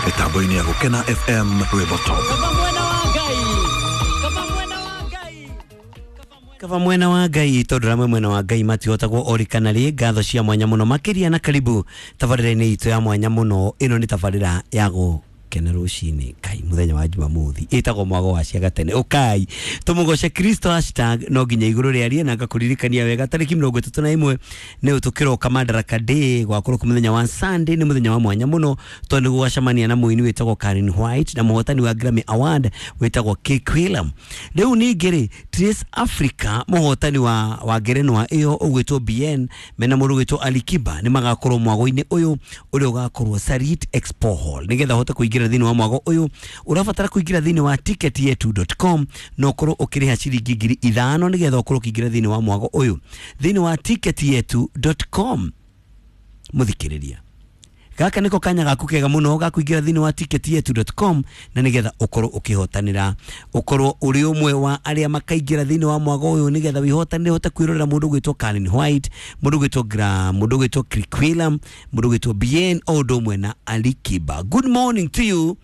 Mĩtambo-inĩ ya Gũkena FM Rwĩmbo Top. Kaba mwena wa Ngai tondũ ramwe mwena wa Ngai matihotagwo orikana rĩ. Ngatho cia mwanya mũno makĩria na karibu tabarĩra-inĩ itũ ya mwanya mũno. Ĩno nĩ tabarĩra ya gũkena rũcinĩ kai mũthenya wa Jumamothi, ĩtagwo Mwago wa Cia Gatene. Ũkai tũmũgoce Kristo hashtag no nginya igũrũ rĩarie na ngakũririkania wega tarĩki 31 nĩ tũkĩroka Madaraka Day gwakorwo kũ mũthenya wa Sunday. Nĩ mũthenya wa mwanya mũno tondũ nĩ gũgacemania na mũini wĩtagwo Karen White na mũhotani wa Grammy Award wĩtagwo Keke William. Rĩu ningĩ rĩ, Trace Africa mũhotani wa ngerenwa ĩyo ũgwĩtwo BN mena mũndũ ũgwĩtwo Alikiba nĩ magakorwo mwago-inĩ ũyũ ũrĩa ũgakorwo Sarit Expo Hall. Nĩgetha ũhote kũingĩra thĩinĩ wa mwago ũyũ ũrabatara kũingĩra thĩinĩ wa ticketyetu.com na ũkorwo ũkĩrĩha ciringi 5,000 nĩgetha ũkorwo ũkĩingĩra thĩinĩ wa mwago ũyũ thĩinĩ wa ticketyetu.com. Mũthikĩrĩria, gaka niko kanya gaku kega muno ga kuingira thiini wa ticketyetu.com na nigetha ukorwo ukihotanira, ukorwo uri umwe wa aria makaingira thiini wa mwago uyu nigetha wihotanire uhote kwirorera mundu gwitwo Karen White, mundu gwitwo Graham, mundu gwitwo Kirk Wheelam, mundu gwitwo Bien, o undu umwe na Alikiba. Good morning to you.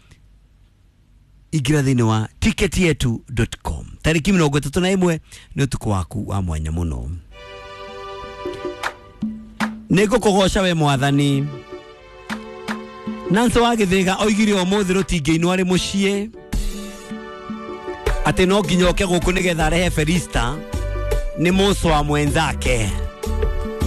Ingira thiini wa ticketyetu.com tariki 31 ni utuku waku wa mwanya muno. Nĩngũkũgoca we Mwathani. Nancy wa Gĩthĩga oigire ũmũthĩ rũtingĩinwo arĩ mũciĩ atĩ no nginya oke gũkũ nĩgetha arehe Felista nĩ mũcwa mwenzake.